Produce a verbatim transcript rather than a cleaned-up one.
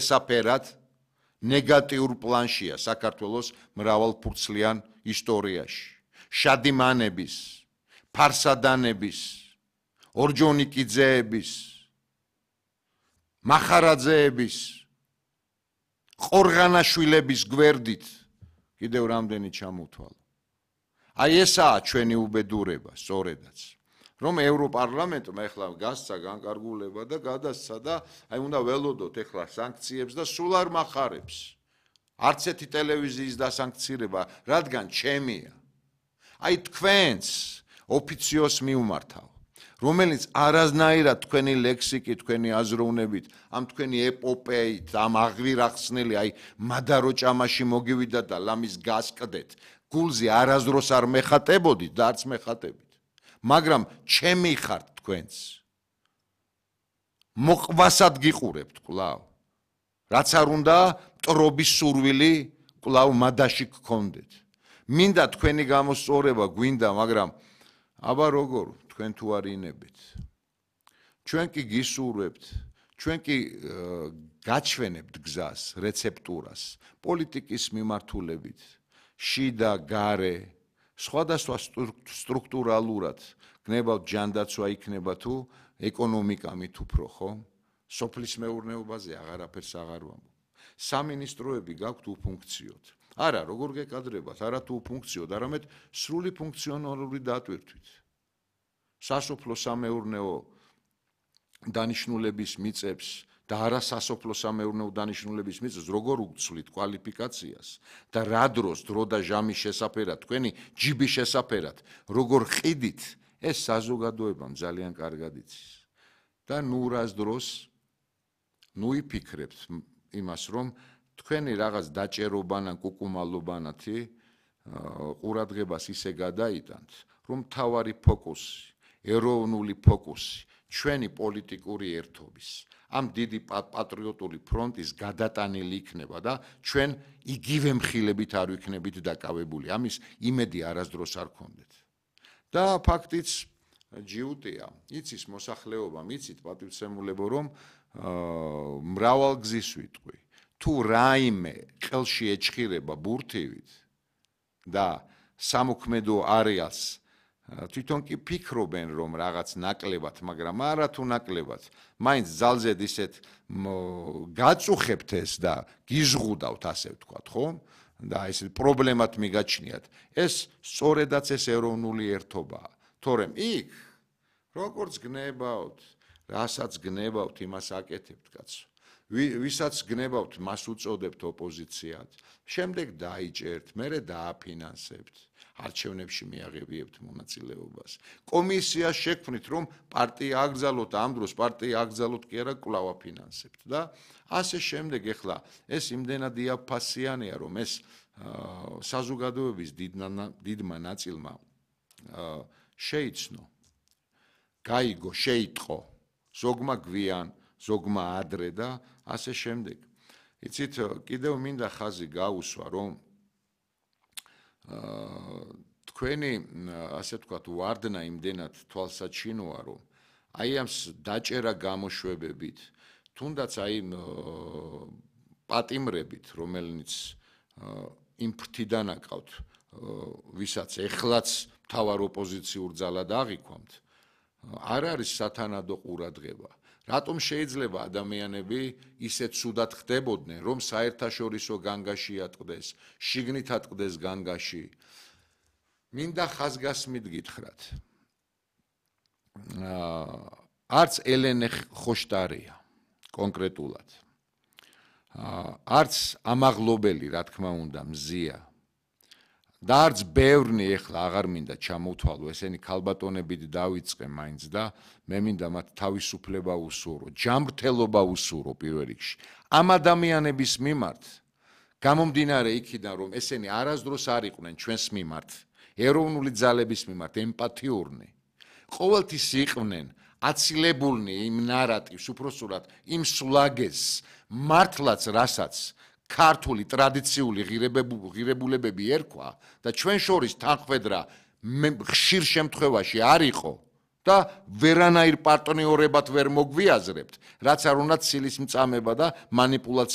შესაფერად ნეგატიურ პლანშია საქართველოს მრავალფურცლიან ისტორიაში. შადიმანების, ფარსადანების, ორჯონიკიძეების, მახარაძეების, ყორღანაშვილების გვერდით კიდევ რამდენი ჩამოთვალა. აი ესაა ჩვენი უბედურება, სწორედაც. რომ ევროპარლამენტმა ეხლა გასცა განკარგულება და გადასცა და აი უნდა ველოდოთ ეხლა სანქციებს და სულ არ მახარებს. არც ერთი ტელევიზიის დასანქცირება, რადგან ჩემია. აი თქვენს ოფიციოს მიუმართავ, რომელიც არაზნაირად თქვენი ლექსიკით, თქვენი აზროვნებით, ამ თქვენი ეპოპეით, ამ აღვირახსნელი, აი მადარო ჭამაში მოგივიდა და ლამის გასკდეთ, გულზე არაზროს არ მეხატებოდით და არც მეხატებით. მაგრამ ჩემი ხართ თქვენს. მოყვასად გიყურებთ კვლავ. რაც არ უნდა მტრობის სურვილი კვლავ მადაში გქონდეთ. მინდა თქვენი გამოსწორება გვინდა, მაგრამ აბა როგორ თქვენ თუ არ ინებით. ჩვენ კი გისურვებთ, ჩვენ კი გაჩვენებთ გზას, რეცეპტურას, პოლიტიკის მიმართულებით, შიდა, გარე, სხვადასხვა სტრუქტურალურად გნებავთ ჯანდაცვა იქნება თუ ეკონომიკა მით უფრო, ხო? სოფლის მეურნეობაზე აღარაფერს აღარ ვამბობ. სამინისტროები გაქვთ უფუნქციოდ. არა, როგორ გეკადრებათ, არა თუ უფუნქციოდ, არამედ სრული ფუნქციონალური დატვირთვით. სასოფლო სამეურნეო დანიშნულების მიწებს და არა სასოფლო სამეურნეო დანიშნულების მიწებს როგორ უცვლით კვალიფიკაციას და რა დროს დრო და ჟამის შესაფერად, თქვენი ჯიბის შესაფერად, როგორ ყიდით, ეს საზოგადოებამ ძალიან კარგად იცის. და ნუ რას დროს ნუ იფიქრებთ იმას, რომ თქვენი რაღაც დაჭერობანა, კუკუმალობანათი ყურადღებას ისე გადაიტანთ, რომ მთავარი ფოკუსი, ეროვნული ფოკუსი, ჩვენი პოლიტიკური ერთობის, ამ დიდი პატრიოტული ფრონტის გადატანილი იქნება და ჩვენ იგივე მხილებით არ ვიქნებით დაკავებული. ამის იმედი არასდროს არ გქონდეთ. და ფაქტიც ჯიუტია, იცის მოსახლეობა, იცით პატივცემულებო, რომ მრავალგზის ვიტყვი. თუ რაიმე ყელში ეჭხირება ბურთივით და სამოქმედო არეალს თვითონ კი ფიქრობენ, რომ რაღაც ნაკლებად, მაგრამ არა თუ ნაკლებად, მაინც ძალზედ ისეთ გაწუხებთ ეს და გიზღუდავთ, ასე ვთქვათ, ხო? და ეს პრობლემად მიგაჩნიათ. ეს სწორედაც ეს ეროვნული ერთობაა. თორემ იქ როგორც გნებავთ, რასაც გნებავთ, იმას აკეთებთ, კაცო. ვისაც გნებავთ, მას უწოდებთ ოპოზიციად. შემდეგ დაიჭერთ, მერე დააფინანსებთ. არჩევნებში მიაღებიებთ მონაწილეობას. კომისიას შექმნით, რომ პარტია აგზალოთ, ამ დროს პარტია აგზალოთ კი არა, კვლავ აფინანსებთ და ასე შემდეგ. ეხლა ეს იმდენად იაფფასიანია, რომ ეს საზოგადოების დიდმა ნაწილმა შეიცნო, გაიგო, შეიტყო, ზოგმა გვიან, ზოგმა ადრე და ასე შემდეგ. იცით, კიდევ მინდა ხაზი გაუსვა, რომ თქვენი, ასე ვთქვათ, ვარდნა იმდენად თვალსაჩინოა, რომ აი ამ დაჭერა გამოშვებებით, თუნდაც აი პატიმრებით, რომელნიც იმ ფრთიდან აკავთ, ვისაც ეხლაც მთავარ ოპოზიციურ ძალად აღიქვამთ, არ არის სათანადო ყურადღება. რატომ შეიძლება ადამიანები ისეთ ცუდად ხდებოდნენ, რომ საერთაშორისო განგაში ატყდეს, შიგნით ატყდეს განგაში? მინდა ხაზგასმით გითხრათ. არც ელენე ხოშტარია კონკრეტულად. არც ამაღლობელი, რა თქმა უნდა, მზია. და არც ბევრნი ეხლა აღარ მინდა ჩამოვთვალო, ესენი ქალბატონებით დავიწყე მაინც და მე მინდა მათ თავისუფლება უსურო, ჯანმრთელობა უსურო პირველ რიგში. ამ ადამიანების მიმართ, გამომდინარე იქიდან, რომ ესენი არასდროს არ იყვნენ ჩვენს მიმართ, ეროვნული ძალების მიმართ ემპათიურნი, ყოველთვის იყვნენ აცილებულნი იმ ნარატივს, უпроსტად იმ სულაგეს, მართლაც რასაც ქართული ტრადიციული ღირებულებები ერქვა და ჩვენ შორის თანხმედრა ხშირ შემთხვევაში არ იყო და ვერანაირ პარტნიორებად ვერ მოგვიაზრებთ, რაც არ უნდა ცილის მწამება და მანიპულაცია